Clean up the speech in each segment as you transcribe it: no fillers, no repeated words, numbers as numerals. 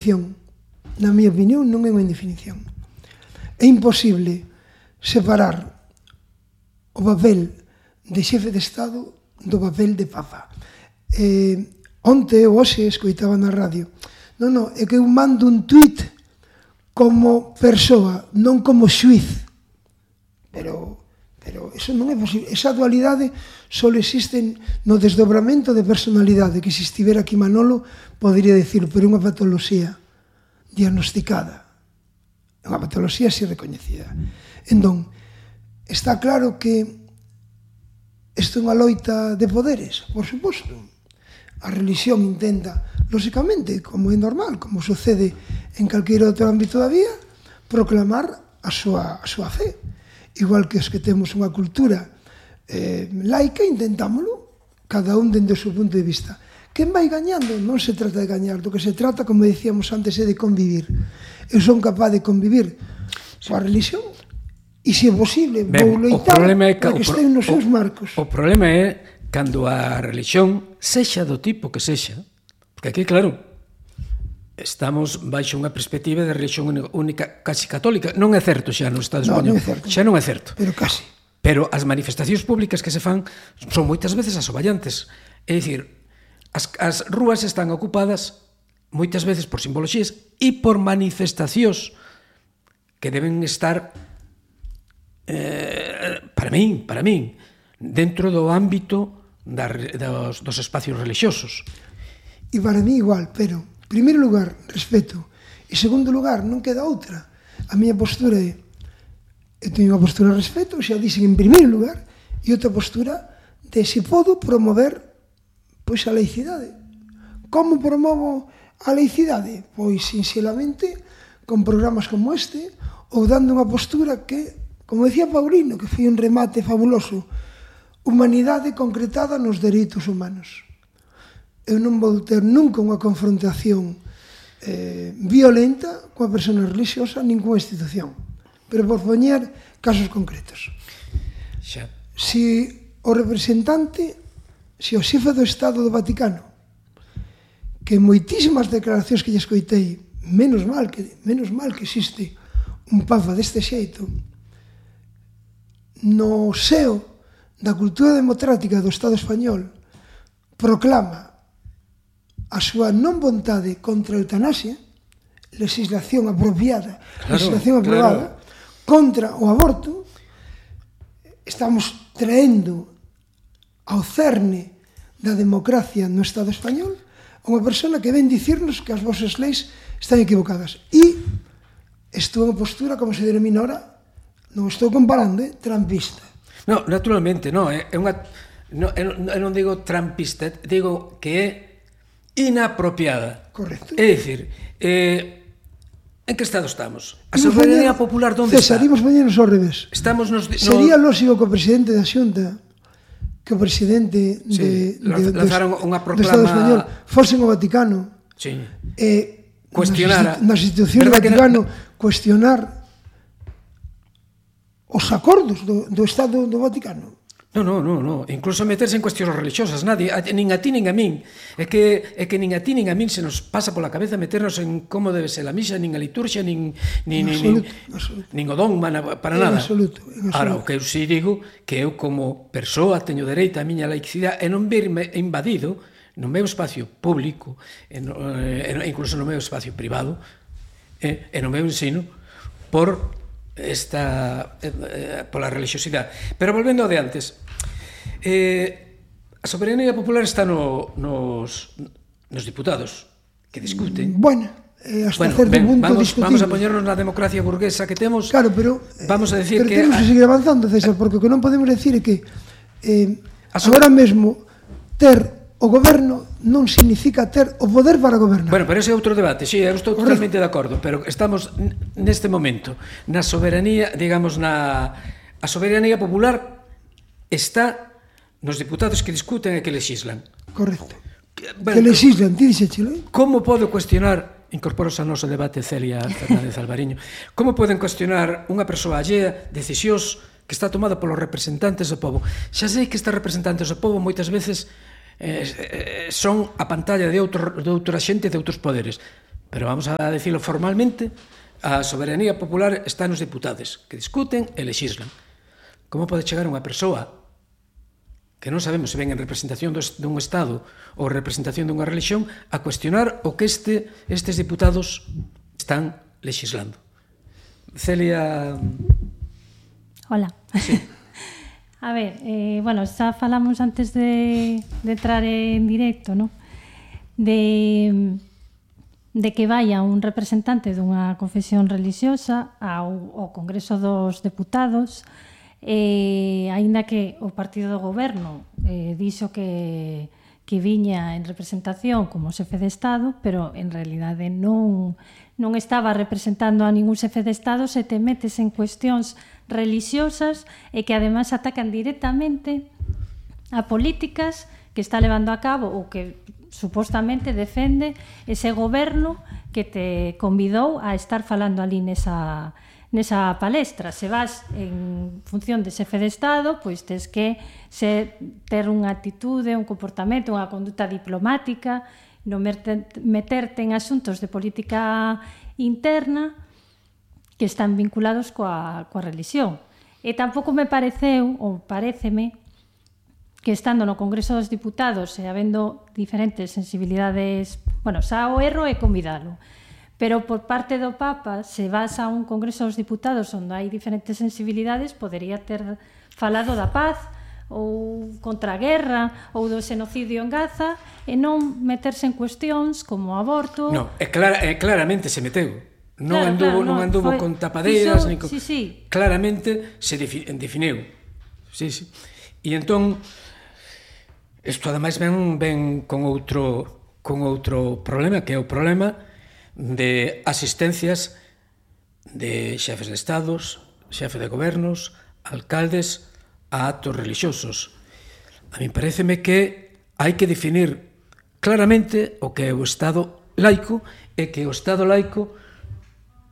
Na miña opinión, non é unha indefinición. É imposible separar o papel de xefe de Estado do papel de Papa. Onte ou hoxe escoitaba na radio. Non, é que eu mando un tuit como persoa, non como xuiz. Pero eso non é posible. Esa dualidade só existe no desdobramento de personalidade, que se estivera aquí Manolo podría dicir, pero é unha patoloxía diagnosticada. É unha patoloxía así recoñecida. Entón, está claro que isto é unha loita de poderes, por suposto. A religión intenta, lóxicamente, como é normal, como sucede en calquer outro ámbito da vida, proclamar a súa fe. Igual que os que temos unha cultura laica, intentámoslo, cada un dende o seu punto de vista. Quen vai gañando? Non se trata de gañar, do que se trata, como dicíamos antes, é de convivir. Eu son capaz de convivir coa religión e, se é posible, vou loitar para que estén nos seus marcos. O problema é cando a religión sexa do tipo que sexa, porque aquí, claro, estamos baixo unha perspectiva de religión única, casi católica. Non é certo xa no Estado español. Xa non é certo. Pero casi. Pero as manifestacións públicas que se fan son moitas veces asoballantes. É dicir, as rúas están ocupadas moitas veces por simboloxías e por manifestacións que deben estar para min dentro do ámbito dos espacios religiosos. E para mí igual, pero en primeiro lugar, respeto, e en segundo lugar, non queda outra. A miña postura é, eu teño unha postura de respeto, xa dixen en primeiro lugar, e outra postura de se podo promover pois a laicidade. Como promovo a laicidade? Pois, sinceramente, con programas como este, ou dando unha postura que, como decía Paulino, que foi un remate fabuloso, humanidade concretada nos dereitos humanos. Eu non vou ter nunca unha confrontación violenta coa persona religiosa, nin coa institución. Pero por poñer casos concretos. Se o representante, se o xefe do Estado do Vaticano, que moitísimas declaracións que lle escoitei, menos mal que existe un Papa deste xeito, no seo da cultura democrática do Estado español proclama a súa non vontade contra a eutanasia, legislación apropiada, legislación aprobada, contra o aborto, estamos traendo ao cerne da democracia no Estado español unha persona que ven dicirnos que as vosas leis están equivocadas. E isto é unha postura, como se denomina ahora, non estou comparando, trampista. No, naturalmente, non, é unha... Eu non digo trampista, digo que é inapropiada. Correcto. É dicir, en que estado estamos? A soberanía popular onde está? Cesarimos mañanos ao revés. Sería lógico que o presidente da Xunta, que o presidente do Estado español fosen ao Vaticano e nas institucións do Vaticano cuestionar os acordos do Estado do Vaticano. Non, incluso meterse en cuestións religiosas, nadie, nin a ti nin a min. É que nin a ti nin a min se nos pasa pola cabeza meternos en como debe ser a misa, nin a liturxia, nin o dogma, para nada. Ahora, o que eu si digo, que eu como persoa teño dereito a miña laicidade e non verme invadido no meu espacio público, incluso no meu espacio privado, e no meu ensino, por pola religiosidade. Pero volvendo ao de antes, a soberanía popular está nos diputados que discuten. Bueno, hasta certo punto discutimos. Vamos a poñernos na democracia burguesa que temos. Claro, pero vamos a decir que temos que seguir avanzando, César, porque o que non podemos decir é que agora mesmo ter o goberno non significa ter o poder para gobernar. Bueno, pero ese é outro debate, sí, eu estou totalmente de acordo, pero estamos neste momento na soberanía, digamos, a soberanía popular está nos diputados que discuten e que lexislan. Correcto. Que lexislan, ti dixéchelo. Como podo cuestionar, incorporos a noso debate Celia Fernández Alvariño, como poden cuestionar unha persoa allea decisións que está tomada polos representantes do povo? Xa sei que estes representantes do povo moitas veces son a pantalla de outra xente de outros poderes, pero vamos a decirlo formalmente, a soberanía popular está nos deputados, que discuten e lexislan. Como pode chegar unha persoa que non sabemos se ven en representación dun Estado ou representación dunha religión a cuestionar o que estes diputados están legislando? Celia... Hola. Sí. A ver, bueno, xa falamos antes de entrar en directo, ¿no? De que vaya un representante dunha confesión religiosa ao Congreso dos Deputados, aínda que o partido do goberno dixo que viña en representación como xefe de Estado, pero en realidade non estaba representando a ningún xefe de Estado, se te metes en cuestións religiosas e que ademais atacan directamente a políticas que está levando a cabo ou que supostamente defende ese goberno que te convidou a estar falando ali nesa palestra. Se vas en función de xefe de Estado, pois tes que ter unha actitude, un comportamento, unha conduta diplomática, non meterte en asuntos de política interna que están vinculados coa religión. E tampouco me pareceu, ou paréceme, que estando no Congreso dos Diputados e habendo diferentes sensibilidades, bueno, xa o erro é convidalo, pero por parte do Papa, se vas a un Congreso dos Diputados onde hai diferentes sensibilidades, podería ter falado da paz ou contra a guerra ou do xenocidio en Gaza e non meterse en cuestións como o aborto. No, claramente se meteu. Non anduvo con tapadeiras, nin con... Sí. Claramente se definiu. Sí. E entón, isto ademais ven con outro problema, que é o problema de asistencias de xefes de estados, xefe de gobernos, alcaldes a actos religiosos. A mí paréceme que hai que definir claramente o que é o Estado laico e que o Estado laico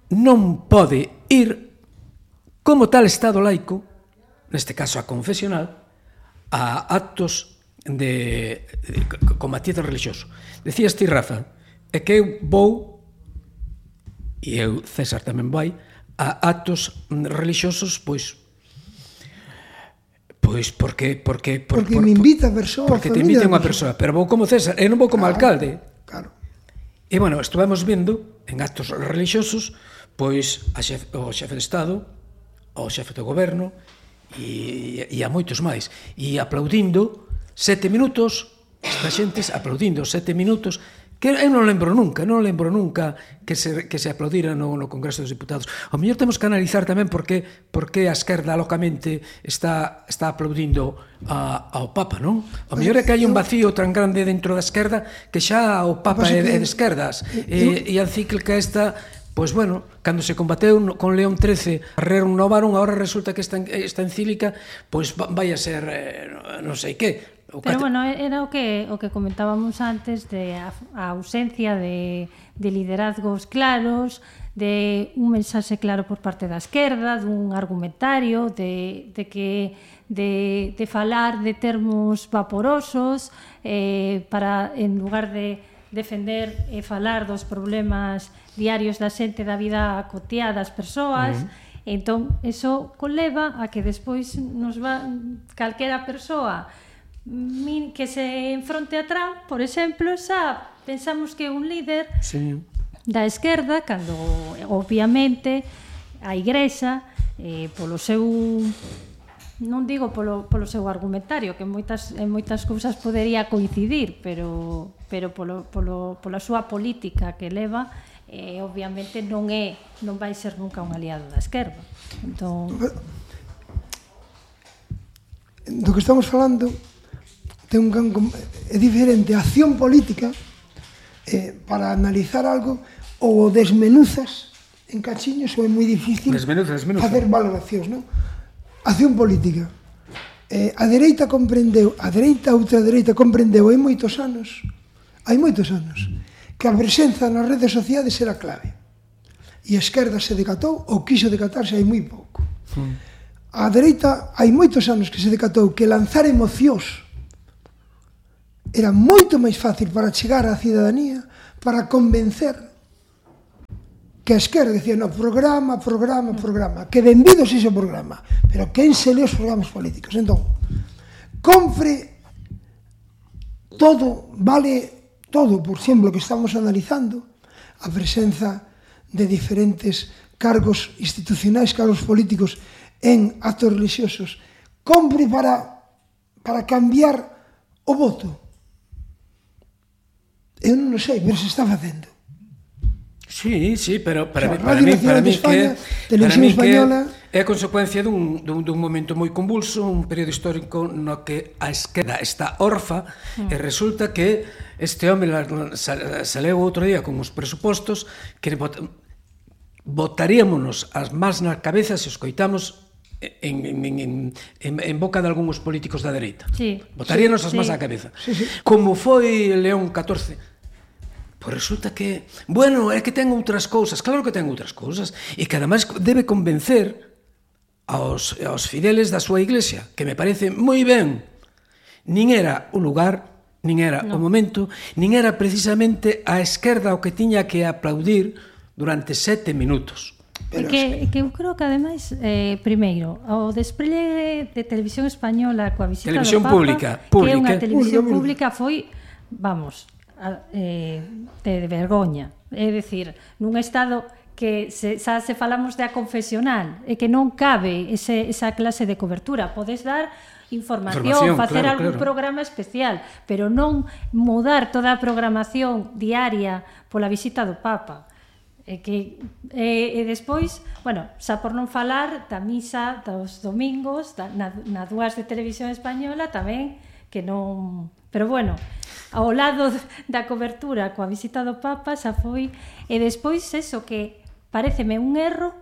non pode ir como tal Estado laico, neste caso a confesional, a actos con matiz religioso. Decías ti, Rafa, é que eu vou, e eu, César, tamén vai, a actos religiosos, pois porque me invita a persoa, porque te invita unha persoa, pero vou como César, e non vou como alcalde. Claro. E, bueno, estuvemos vendo en actos religiosos, pois, o xefe de Estado, o xefe do goberno, e a moitos máis, e aplaudindo 7 minutos, esta xente aplaudindo 7 minutos, que eu non lembro nunca que se aplaudira no Congreso dos Diputados. Ao mellor temos que analizar tamén por que a esquerda locamente está aplaudindo ao Papa, non? Ao mellor é que hai un vacío tan grande dentro da esquerda que xa o Papa é de esquerdas, e a encíclica esta, pois bueno, cando se combateu con León XIII a renovaron, agora resulta que esta encíclica pois vai a ser non sei que. Pero bueno, era o que comentábamos antes de a ausencia de liderazgos claros, de un mensaxe claro por parte da esquerda, dun argumentario, de falar de termos vaporosos, para, en lugar de defender e falar dos problemas diarios da xente, da vida cotiá das persoas. Entón, eso conleva a que despois nos va calquera persoa que se enfronte a Trump, por exemplo, xa pensamos que é un líder da esquerda, cando obviamente a Igrexa, polo seu, non digo polo seu argumentario, que en moitas cousas podería coincidir, pero pola súa política que leva, obviamente non vai ser nunca un aliado da esquerda. Entón, do que estamos falando é diferente a acción política para analizar algo, ou desmenuzas en cachiños, ou é moi difícil facer valoracións, non? Acción política, a dereita comprendeu, a ultradereita comprendeu hai moitos anos que a presenza nas redes sociais era clave, e a esquerda se decatou ou quiso decatarse hai moi pouco. A dereita hai moitos anos que se decatou que lanzar emocións era moito máis fácil para chegar á cidadanía, para convencer que a esquerda decía, no, programa, que benvido se iso programa, pero quen se lee os programas políticos? Entón, compre todo, vale todo, por exemplo, que estamos analizando, a presenza de diferentes cargos institucionais, cargos políticos en actos religiosos, compre para cambiar o voto. Eu non sei, pero se está facendo. Sí, pero para mí que é a consecuencia dun momento moi convulso, un período histórico no que a esquerda está orfa e resulta que este home saleu outro día con os presupostos que botaríamonos as más na cabeza se os coitamos en boca de algúns políticos da dereita. Botaríanos as más na cabeza. Como foi León XIV. Pois resulta que, bueno, é que ten outras cousas, claro que ten outras cousas, e que ademais debe convencer aos fideles da súa iglesia, que me parece moi ben. Nin era o lugar, nin era o momento, nin era precisamente a esquerda o que tiña que aplaudir durante 7 minutos. Que eu creo que ademais, primeiro, o despliegue de televisión española coa visita do Papa, pública, que é unha televisión pública, foi, vamos, de vergoña. É dicir, nun estado que xa se falamos da confesional e que non cabe esa clase de cobertura. Podes dar información, facer algún programa especial, pero non mudar toda a programación diaria pola visita do Papa. E despois, bueno, xa por non falar da misa dos domingos na dúas de televisión española tamén, que non... Pero bueno, ao lado da cobertura coa visita do Papa xa foi... E despois eso, que pareceme un erro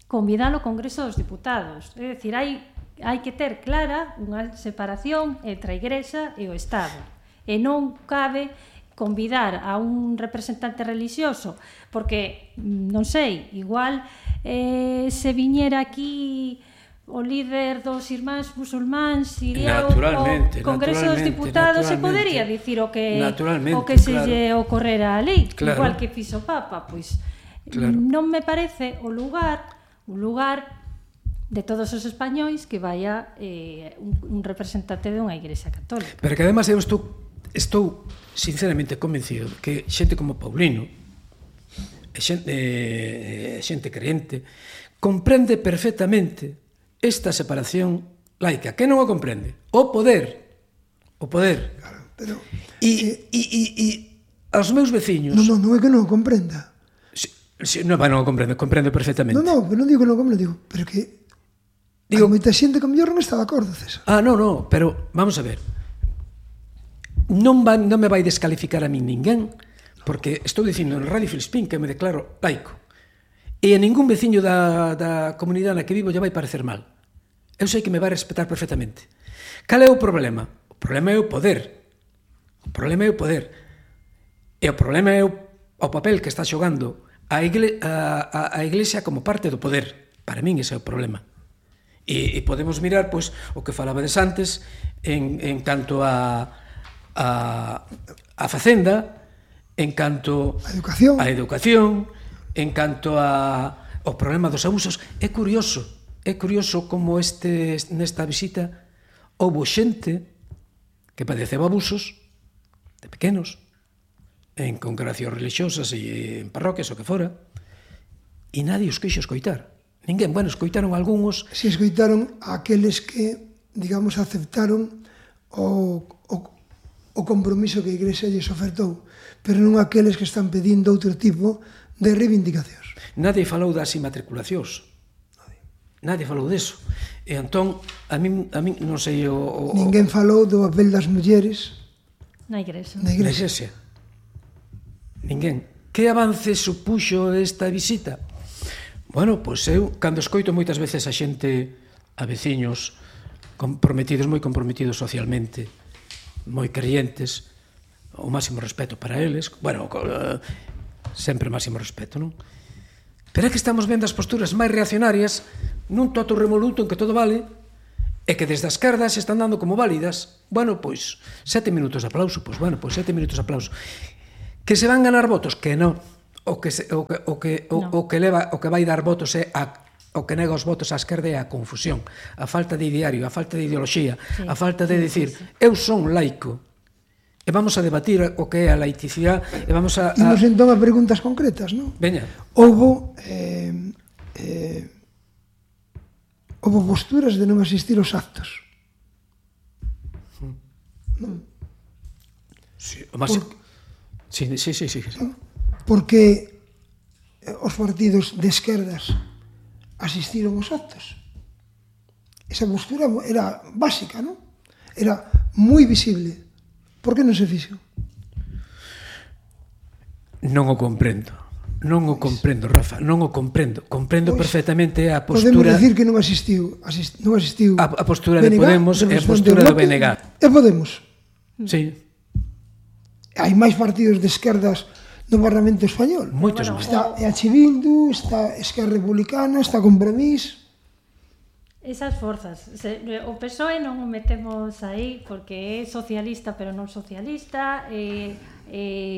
convidar ao Congreso dos Diputados. É dicir, hai que ter clara unha separación entre a Igrexa e o Estado. E non cabe convidar a un representante religioso, porque, non sei, igual se viñera aquí o líder dos irmáns musulmáns iría ao Congreso dos Diputados e podería dicir o que se lle ocorrera a lei, igual que fixo o Papa. Pois non me parece o lugar de todos os españois que vaya un representante dunha igrexa católica. Pero que además eu estou sinceramente convencido que xente como Paulino, xente crente, comprende perfectamente esta separación laica. Que non o comprende? O poder. Claro, pero... E aos meus veciños... Non é que non o comprenda. Non o comprendo perfectamente. Non, non digo que non o comprenda, digo, pero que... Hai moita xente que mellor non está de acordo, César. Non, pero vamos a ver. Non me vai descalificar a min ninguén, porque estou dicindo en Radio Filispín que me declaro laico. E a ningún veciño da comunidade na que vivo lle vai parecer mal. Eu sei que me vai respetar perfectamente. Cal é o problema? O problema é o poder. E o problema é o papel que está xogando a Iglesia como parte do poder. Para min ese é o problema. E podemos mirar pois o que falabades antes en canto a facenda, en canto a educación, en canto ao problema dos abusos. É curioso como nesta visita houbo xente que padeceba abusos de pequenos en congregacións religiosas e en parroquias o que fora, e nadie os quixo escoitar. Ninguén, bueno, escoitaron algúns. Si escoitaron aqueles que, digamos, aceptaron o compromiso que a Igrexa lles ofertou, pero non aqueles que están pedindo outro tipo de reivindicacións. Nadie falou das inmatriculacións. Nadie falou deso. E entón, a min non sei Ninguén falou do papel das mulleres na Igrexa. Ninguén. Que avance supuxo esta visita? Bueno, pois eu, cando escoito moitas veces a xente, a veciños moi comprometidos socialmente, moi creyentes, o máximo respeto para eles, bueno, sempre máximo respeto, non? Pero é que estamos vendo as posturas máis reaccionarias nun toto revoluto en que todo vale e que desde a esquerda se están dando como válidas. Bueno, pois, 7 minutos de aplauso, pois bueno, pois 7 minutos de aplauso. Que se van ganar votos? Que non. o que vai dar votos é o que nega os votos á esquerda é a confusión, a falta de ideario, a falta de ideoloxía, a falta de decir, eu son laico, e vamos a debatir o que é a laicidade, e vamos a... Imos entón a preguntas concretas, non? Veña. Houbo posturas de non asistir aos actos. Non? Sí, sí. Porque os partidos de esquerdas asistiron aos actos. Esa postura era básica, non? Era moi visible. Por que non se fixo? Non o comprendo, Rafa, non o comprendo. Comprendo perfectamente a postura... Podemos decir que non asistiu a postura de Podemos e a postura do BNG. E Podemos. Sí. Hai máis partidos de esquerdas no Parlamento Español. Moitos máis. Está EH Bildu, está Esquerra Republicana, está Compromís. Esas forzas. O PSOE non o metemos aí porque é socialista pero non socialista, é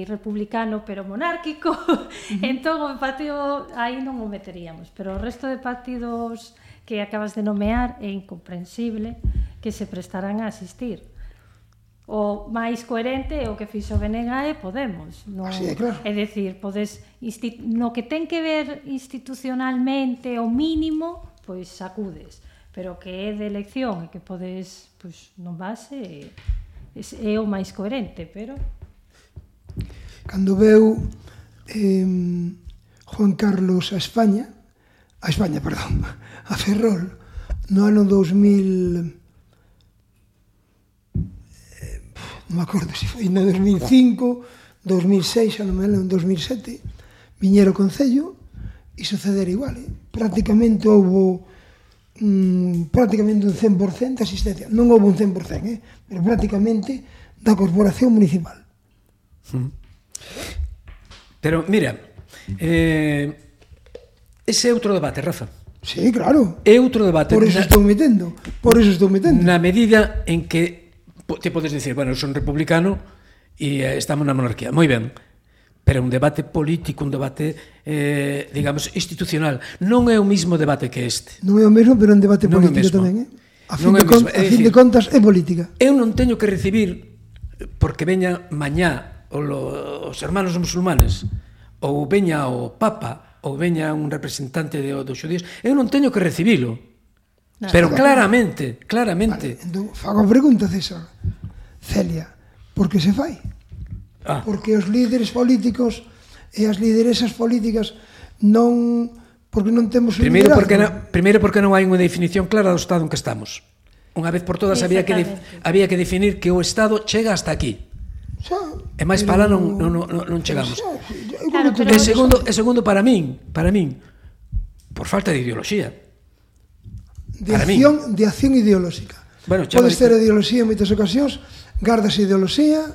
republicano pero monárquico, entón o partido aí non o meteríamos, pero o resto de partidos que acabas de nomear é incomprensible que se prestarán a asistir. O máis coherente é o que fixo BNG e Podemos. Non, así é, claro. É dicir, no que ten que ver institucionalmente o mínimo, pois sacudes, pero que é de elección e que podes, pois non vas, é o máis coherente, pero... Cando veu Juan Carlos a Ferrol, no ano 2000... non me acordo se foi no 2005, 2006, xa non me lembro, en 2007, viñera o Concello e sucedera igual. Prácticamente houve prácticamente un 100% de asistencia. Non houve un 100%, pero prácticamente da Corporación Municipal. Pero, mira, ese é outro debate, Rafa. Sí, claro. É outro debate. Por eso estou metendo. Na medida en que te podes dicir, bueno, eu son republicano e estamos na monarquía. Moi ben. Pero un debate político, un debate, digamos, institucional. Non é o mismo debate que este. Non é o mesmo, pero un debate político tamén, A fin de contas, é política. Eu non teño que recibir, porque veña mañá os hermanos musulmanes, ou veña o Papa, ou veña un representante dos xudíos, eu non teño que recibilo. Pero claramente. Vale, entón, fago a pregunta, César. Celia, por que se fai? Porque os líderes políticos e as lideresas políticas non... Porque non temos un liderazgo. Primeiro porque non hai unha definición clara do Estado en que estamos. Unha vez por todas había que definir que o Estado chega hasta aquí. E máis para lá non chegamos. E segundo, para min, por falta de ideoloxía. De acción ideolóxica. Podes ter ideoloxía en moitas ocasións, gardas ideoloxía,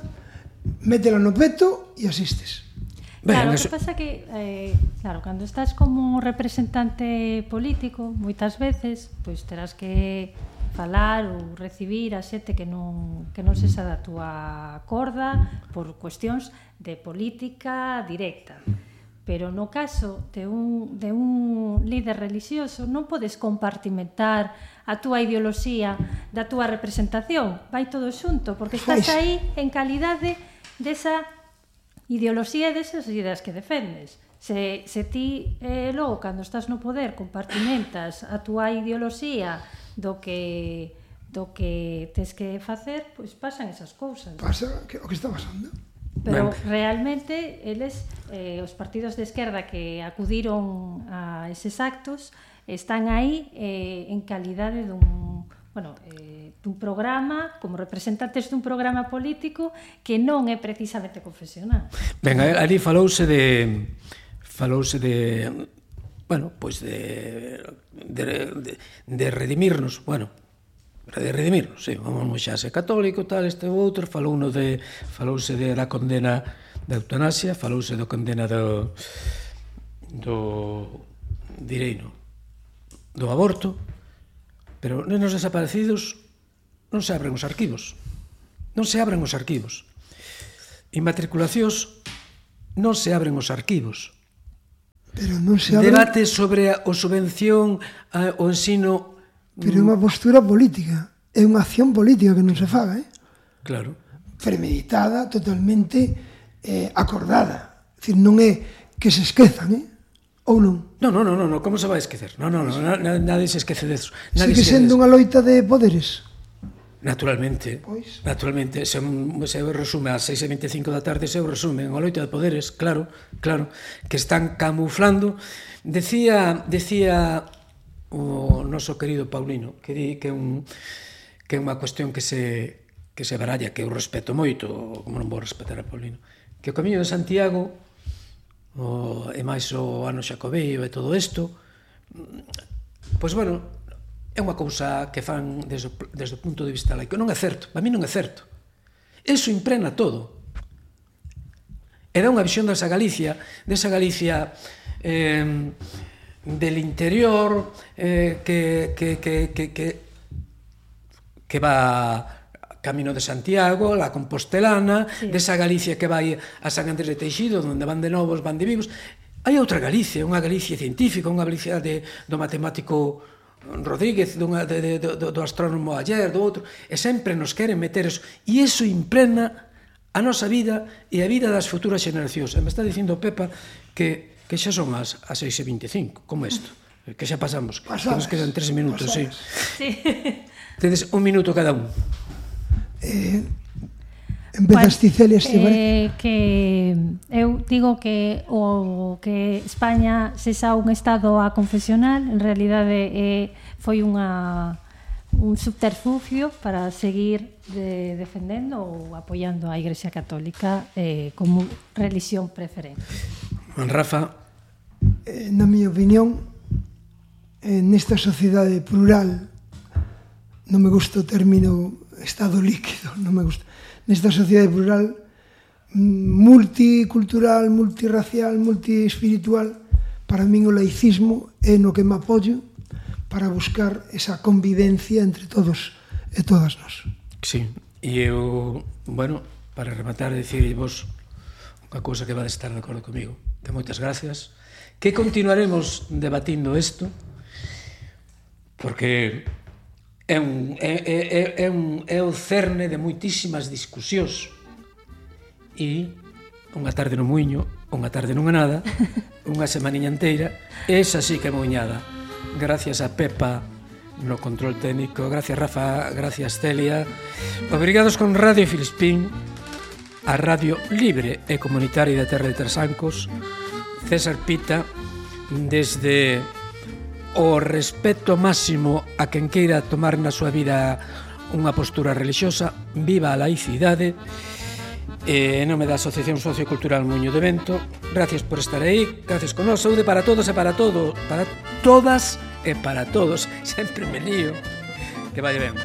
métela no peto e asistes. Claro, o que pasa que, claro, cando estás como representante político, moitas veces, pois terás que falar ou recibir a xente que non sexa da túa corda por cuestións de política directa. Pero no caso de un líder religioso non podes compartimentar a túa ideoloxía da túa representación. Vai todo xunto, porque estás aí en calidade desa ideoloxía e desas ideas que defendes. Se ti logo, cando estás no poder, compartimentas a túa ideoloxía do que tes que facer, pois pasan esas cousas. Pasa o que está pasando. Pero realmente eles, os partidos de esquerda que acudiron a eses actos, están aí en calidade dun programa, como representantes dun programa político que non é precisamente confesional. Ben, ali falouse de bueno, pois de redimirnos, de redimirnos, sí, vamos xa ser católico, tal, este ou outro, falouse da condena da eutanasia, falouse da condena do aborto, pero nenos desaparecidos non se abren os arquivos. Inmatriculacións non se abren os arquivos. Pero non se abre... Debate sobre a subvención ao ensino... Pero é unha postura política. É unha acción política que non se faga, Claro. Premeditada, totalmente acordada. É dicir, non é que se esquezan, ou non? Non, como se vai esquecer? Non, nadie se esquece de eso. Sigue sendo unha loita de poderes? Naturalmente, Pois. naturalmente, se resume a 6:25 da tarde, se resume unha loita de poderes, claro, que están camuflando. Decía o noso querido Paulino, que di que é unha cuestión que se baralla, que eu respeto moito, como non vou respetar a Paulino, que o Camiño de Santiago, e máis o ano Xacobeo e todo isto, pois, bueno, é unha cousa que fan desde o punto de vista laico. Non é certo, para mí non é certo. Eso impregna todo. E dá unha visión desa Galicia del interior, que va Camino de Santiago, la Compostelana, desa Galicia que vai a San Andrés de Teixido, onde van de novos, van de vivos. Hai outra Galicia, unha Galicia científica, unha Galicia do matemático Rodríguez, do astrónomo Ayer, do outro, e sempre nos queren meter eso, e iso impregna a nosa vida e a vida das futuras xeneracións. E me está dicindo Pepa que xa son as 6:25, como isto, que xa pasamos, que nos quedan 3 minutos, sí. Tedes un minuto cada un. Empezas ti, Celia, que eu digo que o que España sexa un estado aconfesional en realidade foi un subterfugio para seguir defendendo ou apoiando a Igrexa Católica como religión preferente. Rafa? Na miña opinión, nesta sociedade plural, non me gusta o término estado líquido, non me gusta. Nesta sociedade plural, multicultural, multirracial, multiespiritual, para min o laicismo é no que me apoio para buscar esa convivencia entre todos e todas nós. Sí, e eu, bueno, para rematar, dicirvos unha cousa que vades estar de acordo comigo, que moitas gracias, que continuaremos debatindo isto, porque é o cerne de moitísimas discusións, e unha tarde no muiño, unha tarde nunha nada, unha semaniña inteira, esa sí que é moiñada. Gracias a Pepa no control técnico, gracias Rafa, gracias Celia. Obrigados con Radio Filispín, a radio libre e comunitaria da Terra de Trasancos. César Pita, desde o respeto máximo a quen queira tomar na súa vida unha postura religiosa, viva a laicidade. En nome da Asociación Sociocultural Muiño de Vento, gracias por estar aí, gracias con nós, saúde para todos e para todo, para todas e para todos, sempre me lío, que vai ben.